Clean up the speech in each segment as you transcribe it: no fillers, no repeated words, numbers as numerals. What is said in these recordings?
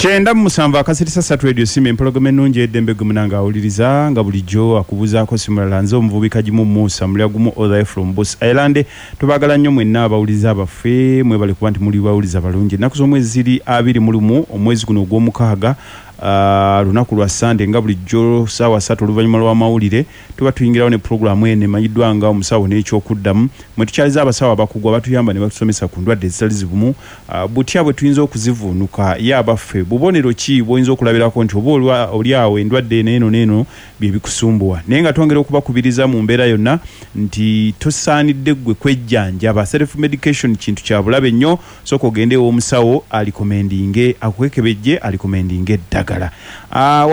97.3 Radio Simba, empologoma ennungi eddembe. Gwe munange awuliriza nga bulijjo akubuuzaako simulala, nze omuvubi Kagimu Musa mulya gumu all the way from Bus Island. Tubaagala nnyo mwenna abawuliriza baffe, mwebale kuba nti muli bawuliza balungi. Ennaku z'omwezi ziri 21 omwezi guno ogw'omukaaga, lunaku lwa Sande. Nga bulijjo saawa 3 oluvannyuma lw'amawulire tuba tuyingirawo ne pulogulaamu eno emanyiddwa nga Omusawo n'Ekyokuddamu, mwe tukyaliza abasawo abakugu abatuyamba ne batusomesa ku ndwadde ezitali zibumu, butya bwe tuyinza okuzivuunuka, ye abaffe bubonero ki bw'oyinza okulabirako nti oba oli awo endwadde eno eno n'eno bye bikusumbuwa. Naye nga twongera okubakubiriza mu mbeera yonna nti tosaanidde ggwe kwejjanjaba. Self medication kintu kya bulabe nnyo. Sooka ogende ew'omusawo arecommendinge, akwekebejje, arecommendinge eddagala.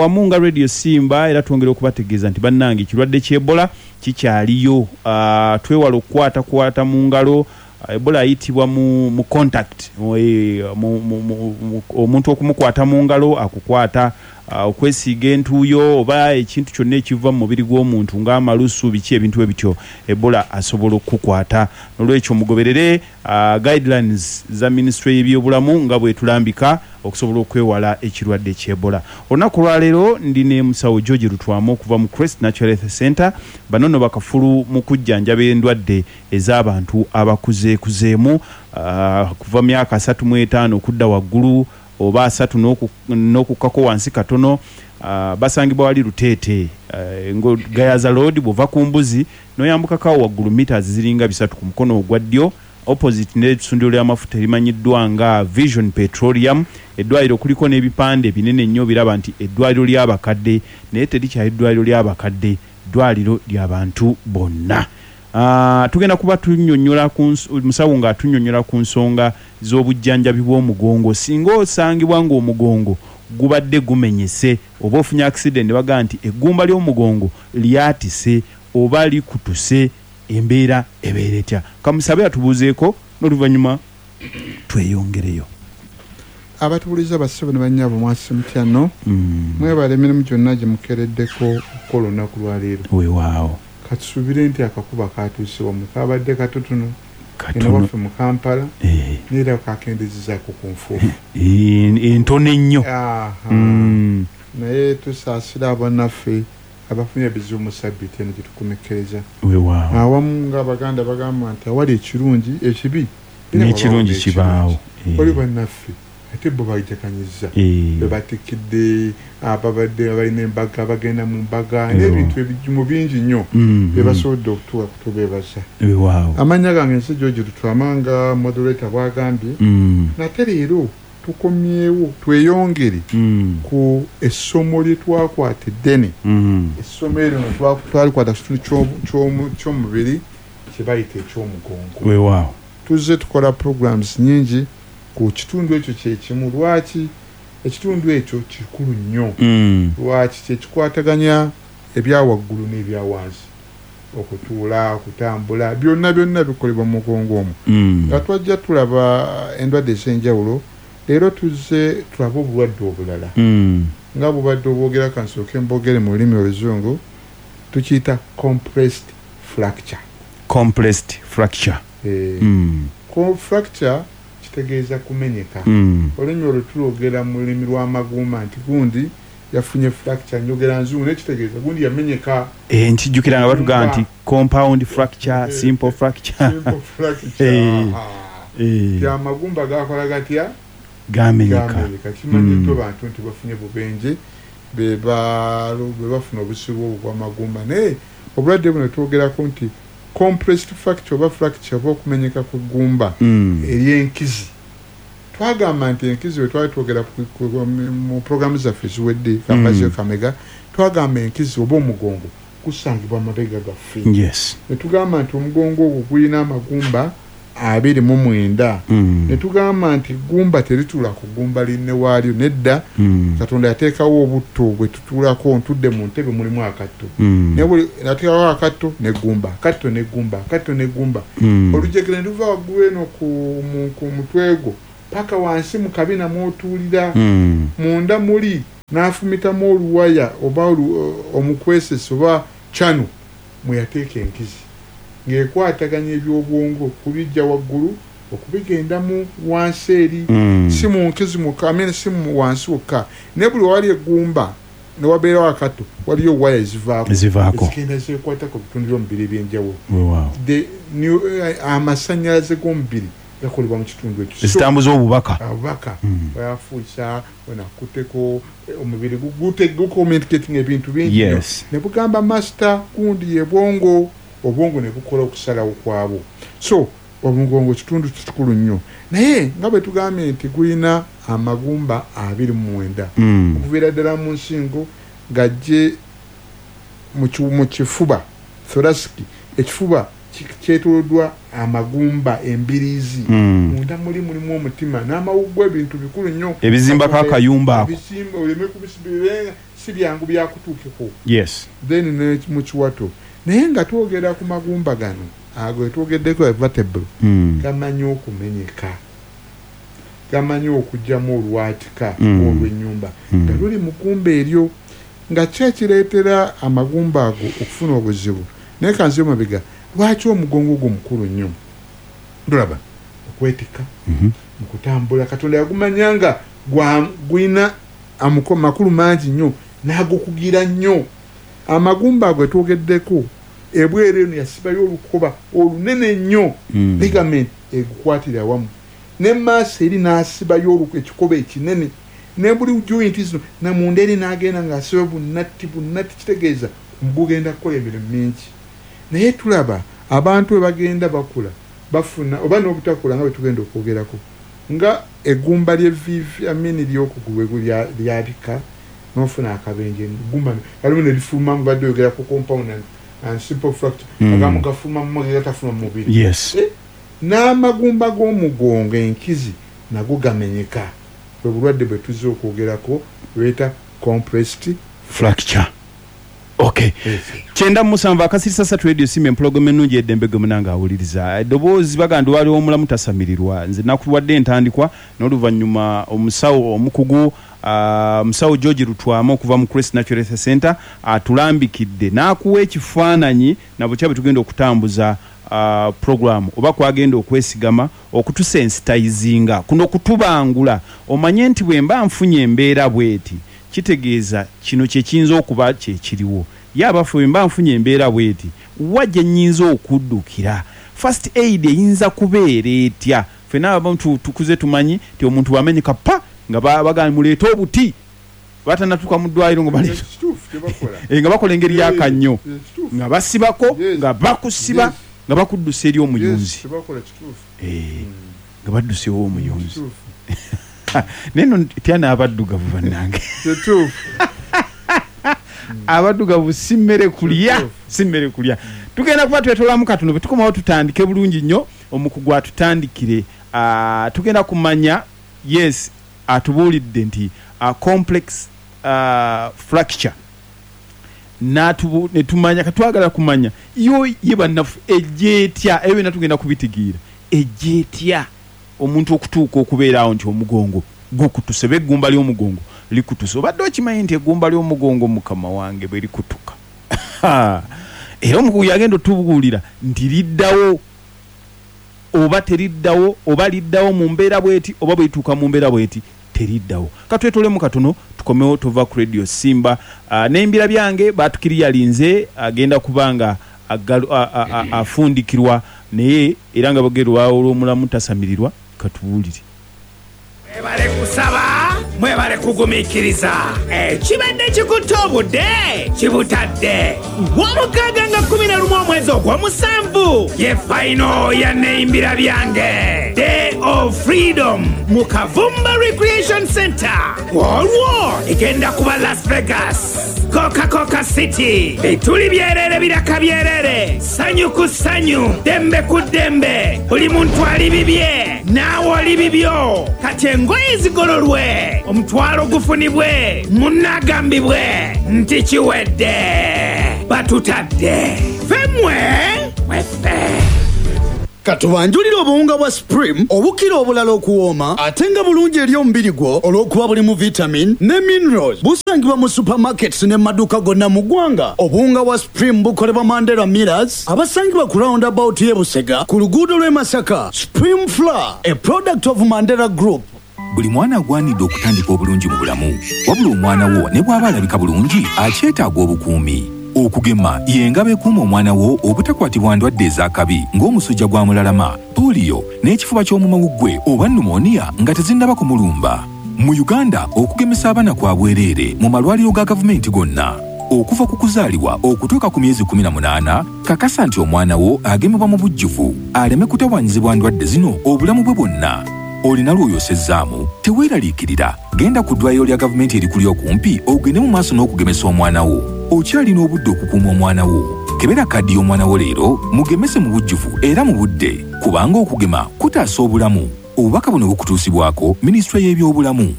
Wamu nga Radio Simba era twongera okubategeeza nti bannange, ekirwadde ky'Ebola kikyaliyo. Twewale okukwatakwata mu ngalo. Ebola ayitibwa mu contact, omuntu okumukwata mu ngalo, akukwata, okwesiiga entuuyo oba ekintu kyonna ekiva mu mubiri gw'omuntu ng'amalusu, biki, ebintu ebityo, Ebola asobola okukukwata. Nolwekyo mugoberere guidelines za minisitule y'ebyobulamu nga bwetulambika okusobola okwewala ekirwadde ky'Ebola. Olunaku olwaleero ndi ne musawo George Lutwama okuva mu Crest Natural Health Center. Bano nno bakafulu mu kujjanjaba endwadde ez'abantu abakuzeekuzeemu, kuva myaka 35 okudda waggulu oba 30 n'okukkako wansi katono. Basangibwa wali Luteete, Gayaza Road, bw'ova ku mbuzi n'oyambukako awo waggulu meters ziringa 3 ku mukono ogwa ddyo, opposite n'essundiro ly'amafuta erimanyiddwa nga Vision Petroleum. Eddwaliro kuliko n'ebipande binene nnyo biraba nti eddwaliro ly'abakadde, naye terikyali ddwaliro ly'abakadde, ddwaliro ly'abantu bonna. Tugenda kuba tunnyonnyola ku musawo ng'atunnyonnyola ku nsonga z'obujjanjabi bw'omugongo. Singa osangibwa ng'omugongo gubadde gumenyese oba ofunye accident ne bagamba nti eggumba ly'omugongo lyatise oba likutuse, embeera ebeera etya? Kamusabe atubuuzeeko n'oluvannyuma tweyongereyo. Abatuwuliriza, bassebo ne bannyabo, mwasi mutya nno? Mwebale emirimu gyonna gye mukeereddeko okukola olunaku lwaleero. Weewaawo. Katusuubire nti akakuba katuuse wammwe, kabadde katotono eno Katono. waffe mu Kampala, naye era kakendezezaako ku nfuufu entono ennyo. Aha. Naye tusaasira abannaffe abafunye ebizibu mu sabbiiti eno gye tukomekkereza. Weewaawo. Awamu ng'Abaganda bagamba nti awali ekirungi, ekibi era wabaawo n'ekirungi kibaawo. N'ekirungi. Waliwo bannaffe ate bo bajaganyiza, be batikkidde, ababadde abalina embaga bagenda mu mbaga n'ebintu ebijumu bingi nnyo bye basobodde okutuuka kutubeebaza. Weewaawo. Amannya gange nze George Lutwama, nga moderator bw'agambye. Nate leero tukomyewo tweyongere ku essomo lye twakwata eddene. Essomo eryo no twalikwata ku kitundu ky'omubiri kye bayita ekyomugongo. Weewaawo. Tuzze tukola programs nyingi ku kitundu ekyo kyekimu. Lwaki ekitundu ekyo kikulu nnyo? Lwaki kyekikwataganya ebyawaggulu n'ebyawansi, okutuula, okutambula, byonna byonna bikolebwa mu mugongo omwo. Nga twajja tulaba endwadde ez'enjawulo, leero tuzze tulabe obulwadde obulala nga bubadde obwogera. Kansooke mbogere mu lulimi Oluzungu, tukiyita compressed fracture. Compressed fracture. Fracture kitegeeza kumenyeka. Olulimi olwo tulwogera mu lulimi lw'amagumba nti gundi yafunye fracture. Njogera nzungu naye kitegeeza gundi yamenyeka. Nkijjukira nga batugamba nti compound fracture, simple fracture. Simple fracture. Ti amagumba gakola gatya? Gamenyeka. Gamenyeka. Kimanyiddwa bantu nti bafunye bubenje be bafuna obusibu obwo bw'amagumba. Naye obulwadde buno twogerako nti compressed fracture oba fracture oba okumenyeka kw'eggumba ery'enkizi. Twagamba nti enkizi, bwe twali twogera mu programu zaffe eziwedde, kambazeyo kamega, twagamba enkizi oba omugongo gusangibwa amabega gaffe. Ne tugamba nti omugongo ogwo gulina amagumba 29. Ne tugamba nti gumba terituula ku gumba linne waalyo, nedda. Katonda yateekawo obutto bwe tutuulako. Ntudde mu ntebe, mulimu akatto, naye buli nateekawo akatto neggumba, akatto neggumba, akatto neggumba, olujegere ne luva waggulu eno ku mutwe gwo paka wansi mu kabina mw'otuulira. Munda muli n'afumitamu oluwaya oba omukwesese oba kyano mwe yateeka enkizi ng'ekwataganya ebyobwongo kubijja waggulu. Okubigendamu wansi eri, si mu nkizi mwokka, I mean, si mu wansi wokka, naye buli wali eggumba newabeerawo akato, waliyo waya ezivaako. Ezivaako. Ezigenda zekwata ku bitundu by'omubiri ebyenjawulo. Weewaawo. Amasannyalaze g'omubiri gakolebwa mu kitundu ekyo. So, Ezitambuza obubaka. Abubaka oyafuusa onakuteko omubiri gucommunicating ebintu bingi nnyo. Ne bugamba master gundi ye bwongo, obwongo ne bukola okusalawo kwabwo. So omugongo kitundu kikulu nnyo, naye nga bwe tugambye nti gulina amagumba 29, okuviira ddala mu nsingo ng'ajje mu kifuba, thoracic, ekifuba kyetooloddwa amagumba embiriizi. Munda muli mulimu omutima n'amawuggwe, ebintu bikulu nnyo. Ebizimbako akayumba ako. Ebizimba oleme kubisiba, si byangu byakutuukeko. Then ne mu kiwato. Naye nga twogera ku magumba gano ago twogeddeko, vertebral, gamanyi okumenyeka, gamanyi okugyamu olwatika olw'ennyumba nga luli mu ggumba eryo, nga ki ekireetera amagumba ago okufuna obuzibu. Naye kanzire mabega, lwaki omugongo ogwo mukulu nnyo? Tulaba okwetikka mu kutambula, Katonda yagumanya nga gulina makulu mangi nnyo n'agukugira nnyo. Amagumba ago twogeddeko, ebweru eno yasibayo olukoba olunene nnyo, ligament egukwatira awamu, ne maaso eri n'asibayo ekikoba ekinene, ne buli joint zino namunda eri n'agenda ng'asiba bunatti bunatti. Kitegeeza gugenda kukola emirimu mingi. Naye tulaba abantu bwe bagenda bakula, bafuna oba n'obutakula, nga bwe tugenda okwogerako, nga eggumba ly'evviivi amini ly'okugulu lyabika n'ofuna akabenje, eggumba alimu ne lifulumamu. Badde oyogera ku compound and simple fracture, agamu gafulumamu, gatafuluma mu mubiri. N'amagumba g'omugongo enkizi nago gamenyeka, bwe bulwadde bwe tuzze okwogerako bweta compressed fracture. Okay. 97.3 Radio Simba, empologoma ennungi eddembe gwe munange awuliriza eddoboozi. Baganda waliwo omulamu tasamirirwa. Nze nakuwadde entandikwa n'oluvannyuma omusawo omukugu, musawo George Lutwama okuva mu Crest Natural Health Center atulambikidde n'akuwa ekifaananyi nabukya bwe tugenda okutambuza program oba kwagenda okwesigama okutusensitizinga kuno kutubangula, omanye nti bwe mba nfunye embeera bweti, kitegeeza kino kye kiyinza okuba kyekiriwo. Ye abaffe, bwe mba nfunye embeera bweti, wa gye nnyinza okuddukira? First aid eyinza kubeera etya? Ffenna abamu tukuze tumanyi nti omuntu bw'amenyeka pa nga bagamba muleete obuti, batanatuuka mu ddwaliro nga baleeta Kituufu kyebakola. Nga bakola engeri y'akannyo, Kituufu. nga basibako, nga bakusiba, nga bakuddusa eri omuyunzi. Kyebakola kituufu. Nga baddusa ew'omuyunzi. Kituufu. Naye nno tya n'abaddugavu bannange. Kituufu. Abaddugavu si mmere kulya. Kituufu. Si mmere kulya. Tugenda kuba twetolamu katono, bwe tukomawo tutandike bulungi nnyo, omukugu atutandikire. Tugenda kumanya, yes, atubuulidde nti complex fracture ne tumanya katwagala kumanya yo ye bannaffe ejja etya. Ebyo byonna tugenda kubitegeera, ejja etya omuntu okutuuka okubeera awo nti omugongo gukutuse oba eggumba ly'omugongo likutuse. Obadde okimanyi nti eggumba ly'omugongo, mukama wange, bwe likutuka, era omukugu yagenda otubuulira nti liddawo oba teriddawo, oba liddawo mu mbeera bweti, oba bw'etuuka mu mbeera bweti teriddawo. Katwetolemu katono tukomewo. Tova ku Radio Simba. N'embira byange batukiriyalinze, agenda kuba nga afundikirwa, naye era nga bagerwa olw'omulamu tasamirirwa. Katubuulire. Mwebale kusaba, mwebale kugumiikiriza. Ekibadde kikutte obudde kibutadde. Lwomukaaga nga 11 omwezi ogw'omusanvu ye fayino ya Neyimbira Byange Day of Freedom mu Kavumba Recreation Center. Olwo egenda kuba Las Vegas, Coca-Cola City, bituli byerere, biraka byerere, ssanyu ku ssanyu, ddembe ku ddembe, buli muntu ali bibye, naawe oli bibyo. Kati engoye zigololwe, omutwalo gufunibwe, munnagambibwe nti kiwedde, batutadde, ffemmwe mweffe. Katubanjulire obuwunga bwa Supreme obukira obulala okuwooma ate nga bulungi eri omubiri gwo olw'okuba bulimu vitamin ne minerals. Busangibwa mu supermarkets ne maduuka gonna mu ggwanga. Obuwunga bwa Supreme bukolebwa Mandela Millers abasangibwa ku roundabout y'e Busega ku luguudo lw'e Masaka. Supreme Flour, a product of Mandela Group. Buli mwana agwanidde okutandika obulungi mu bulamu. Wabula omwana wo ne bw'aba alabika bulungi, akyetaaga obukuumi. Okugema y'engabo ekuuma omwana wo obutakwatibwa ndwadde ez'akabi ng'omusujja gwa mulalama, pooliyo, n'ekifuba ky'omu mawuggwe oba pneumonia nga tezinnaba kumulumba. Mu Uganda, okugemesa abaana kwa bwereere mu malwaliro ga gavumenti gonna. Okuva ku kuzaalibwa okutuuka ku myezi 18, kakasa nti omwana wo agemebwa mu bujjuvu aleme kutawaanyizibwa ndwadde zino obulamu bwe bwonna. Olina lw'oyosezzaamu? Teweeraliikirira, genda ku ddwaliro lya gavumenti erikuli okumpi ogende mu maaso n'okugemesa omwana wo. Okyalina obudde okukuuma omwana wo. Kebera kaadi y'omwana wo leero, mugemese mu bujjuvu era mu budde, kubanga okugema kutaasa obulamu. Obubaka buno bukutuusibwako Minisitule y'Ebyobulamu.